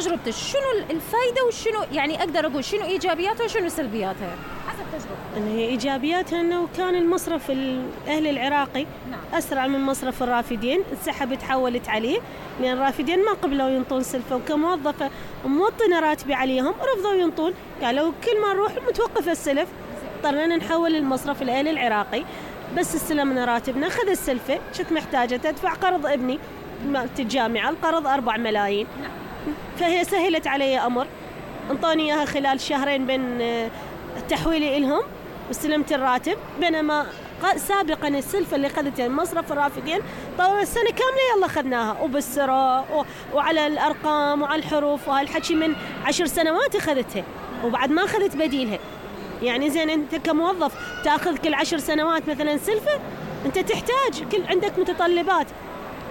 تجربتك شنو الفائدة وشنو يعني أقدر أقول شنو إيجابياتها وشنو سلبياتها حسب تجربتك؟ إن هي إيجابياتها إنه كان المصرف الأهلي العراقي أسرع من مصرف الرافدين، انسحب تحولت عليه لأن الرافدين ما قبلوا ينطون سلفة، وكموظفة موطنة راتبي عليهم رفضوا ينطون، قالوا كل ما نروح متوقف السلف، اضطرينا نحول المصرف الأهلي العراقي. بس استلمنا راتبنا خذ السلفة، كنت محتاجة أدفع قرض ابني مالت الجامعة، القرض 4 ملايين، فهي سهلت علي أمر، انطوني إياها خلال شهرين بين تحويلي إلهم واستلمت الراتب. بينما سابقا السلفة اللي خذتها مصرف الرافدين طول السنة كاملة يلا خذناها وبالسراء وعلى الأرقام وعلى الحروف، وهالحكي من 10 سنوات أخذتها وبعد ما أخذت بديلها. يعني زين أنت كموظف تأخذ كل 10 سنوات مثلا سلفة، أنت تحتاج كل عندك متطلبات.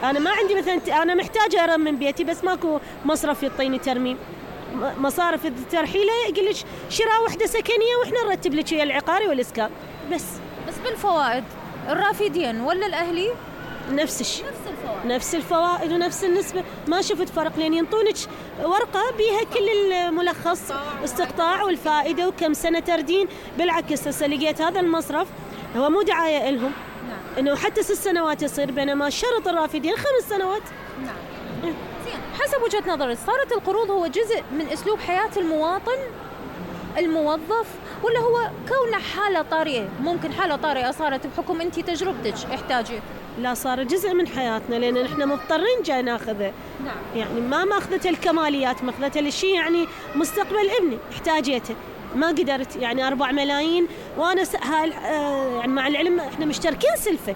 أنا ما عندي مثلا، أنا محتاجة أرمم بيتي بس ماكو مصرف يعطيني ترميم، مصارف الترحيلة يقول لك شراء وحدة سكنية وإحنا نرتب لك ويا العقاري والإسكان بس بالفوائد الرافدين ولا الأهلي نفس الشيء، نفس الفوائد ونفس النسبة، ما شفت فرق، لأن ينطونك ورقة بيها كل الملخص استقطاع والفائدة وكم سنة تردين. بالعكس هسه لقيت هذا المصرف هو مو دعاية إلهم، إنه حتى 6 سنوات يصير، بينما شرط الرافدين 5 سنوات. زين حسب وجهة نظرك صارت القروض هو جزء من أسلوب حياة المواطن الموظف، ولا هو كونه حالة طارئة؟ ممكن حالة طارئة صارت بحكم أنت تجربتك احتاجت. لا، صار جزء من حياتنا لأن نحن مضطرين جاي ناخذه. يعني ما أخذت الكماليات، ما أخذت الشيء يعني مستقبل ابني احتاجيته ما قدرت. يعني 4 ملايين وأنا يعني مع العلم احنا مشتركين سلفة،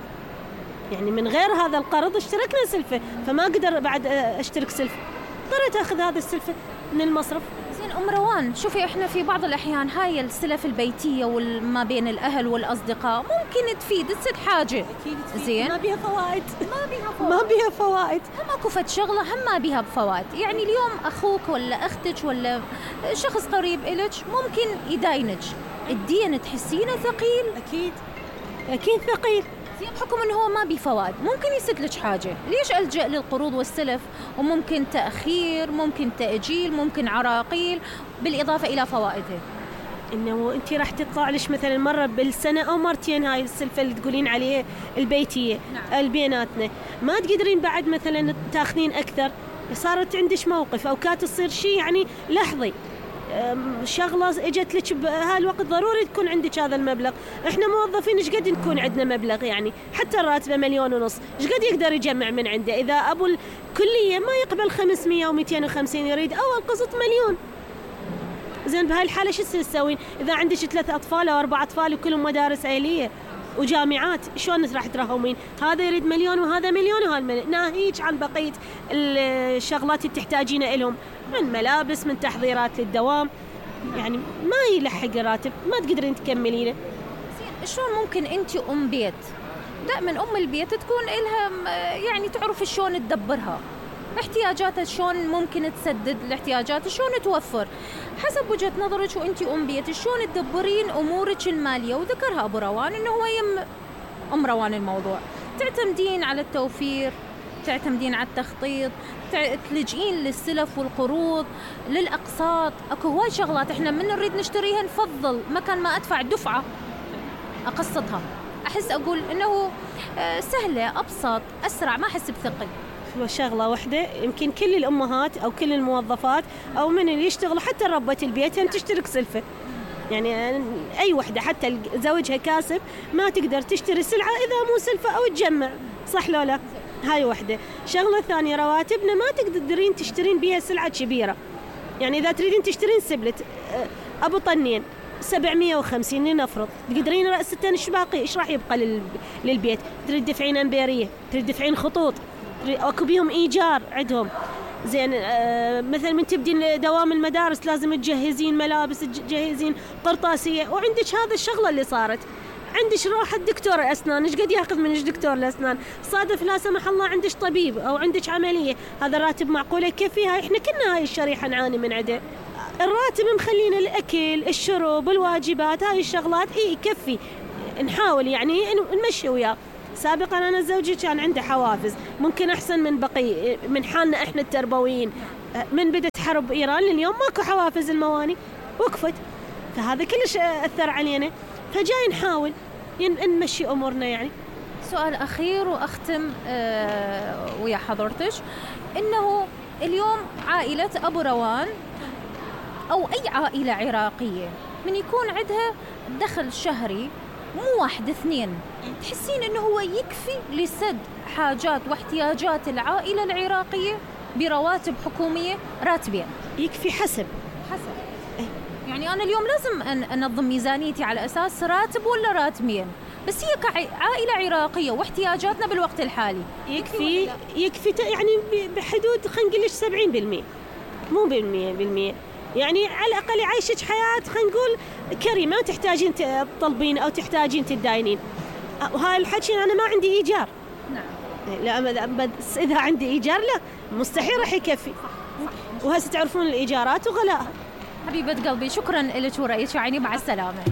يعني من غير هذا القرض اشتركنا سلفة، فما قدر بعد اشترك سلفة، اضطريت اخذ هذا السلفة من المصرف. زين أم روان، شوفي احنا في بعض الأحيان هاي السلف البيتية وما بين الأهل والأصدقاء ممكن تفيد تصير حاجة. زين ما بيها فوائد، ما بيها فوائد، هم اكو فد شغلة هم ما بيها بفوائد. يعني اليوم أخوك ولا أختك ولا شخص قريب إلك ممكن يداينك، الدين تحسينه ثقيل؟ أكيد ثقيل. بحكم انه هو ما بفوائد ممكن يسد لك حاجه، ليش الجا للقروض والسلف؟ وممكن تاخير، ممكن تاجيل، ممكن عراقيل، بالاضافه الى فوائده. انه انت راح تطلع لك مثلا مره بالسنه او مرتين هاي السلفه اللي تقولين عليها البيتيه. البيناتنا ما تقدرين بعد مثلا تاخذين اكثر، صارت عندك موقف او كانت تصير شيء يعني لحظي، شغله اجت لك بهالوقت ضروري تكون عندك هذا المبلغ. احنا موظفين ايش قد نكون عندنا مبلغ؟ يعني حتى الراتب 1.5 مليون، ايش قد يقدر يجمع من عنده؟ اذا ابو الكليه ما يقبل 500 و250 يريد اول قسط 1,000,000. زين بهالحاله شو تسوين؟ اذا عندك 3 أطفال او 4 أطفال وكلهم مدارس عائليه وجامعات، شلون راح ترهمين؟ هذا يريد 1,000,000 وهذا 1,000,000 وهذا 1,000,000. ناهيك عن بقيه الشغلات اللي تحتاجينها لهم من ملابس، من تحضيرات للدوام، يعني ما يلحق الراتب، ما تقدرين تكملينه. شلون ممكن انت ام بيت؟ دائما ام البيت تكون لها يعني تعرف شلون تدبرها، احتياجاتها شلون ممكن تسدد الاحتياجات، شلون توفر حسب وجهة نظرك وانت ام بيت، شلون تدبرين امورك الماليه. وذكرها ابو روان انه هو يم ام روان الموضوع، تعتمدين على التوفير، تعتمدين على التخطيط، تلجئين للسلف والقروض، للأقساط. اكو هواي شغلات احنا من نريد نشتريها نفضل مكان ما ادفع دفعة اقسطها. احس اقول انه سهلة، ابسط، اسرع، ما احس بثقل. شغلة واحدة يمكن كل الامهات او كل الموظفات او من اللي يشتغل حتى ربة البيت تشترك سلفة. يعني اي وحدة حتى زوجها كاسب ما تقدر تشتري سلعة اذا مو سلفة او تجمع، صح لو لا؟ هاي وحدة. شغلة ثانية، رواتبنا ما تقدرين تشترين بيها سلعة كبيرة. يعني إذا تريدين تشترين سبلت أبو طنين 750 لنفرض، تقدرين رأس 6 باقي، إيش راح يبقى للبيت؟ تريد تدفعين أمبيرية، تريد تدفعين خطوط، أكو بيهم إيجار عندهم. زين مثلا من تبدين دوام المدارس لازم تجهزين ملابس، تجهزين قرطاسية، وعندك هذا الشغلة اللي صارت. عندك روح الدكتور الأسنان، إيش قد يأخذ منك دكتور الأسنان؟ صادف لا سمح الله عندك طبيب أو عندك عملية، هذا الراتب معقولة يكفيها؟ إحنا كنا هاي الشريحة نعاني من عده. الراتب مخلينا الأكل، الشرب، الواجبات، هاي الشغلات يكفي، نحاول يعني نمشي وياه. سابقا أنا زوجي كان عنده حوافز ممكن أحسن من بقي من حالنا إحنا التربويين، من بدت حرب إيران لليوم ماكو حوافز المواني، وقفت. فهذا كلش أثر علينا، فجاي نحاول نمشي أمورنا يعني. سؤال أخير وأختم ويا حضرتك، إنه اليوم عائلة أبو روان أو أي عائلة عراقية من يكون عندها دخل شهري مو 1 2، تحسين إنه هو يكفي لسد حاجات واحتياجات العائلة العراقية برواتب حكومية؟ راتبين يكفي حسب يعني أنا اليوم لازم أنظم ميزانيتي على أساس راتب ولا راتبين، بس هي كعائلة عراقية واحتياجاتنا بالوقت الحالي يكفي يعني بحدود خلينا نقول 70%، مو ب100%. يعني على الأقل يعيشك حياة خلينا نقول كريمة، ما تحتاجين تطلبين أو تحتاجين تداينين. وهاي الحكي أنا ما عندي إيجار. نعم. لا بس إذا عندي إيجار لا مستحيل راح يكفي. وهسه تعرفون الإيجارات وغلاءها. حبيبة قلبي شكرا لك ورأيك، يعني مع السلامة.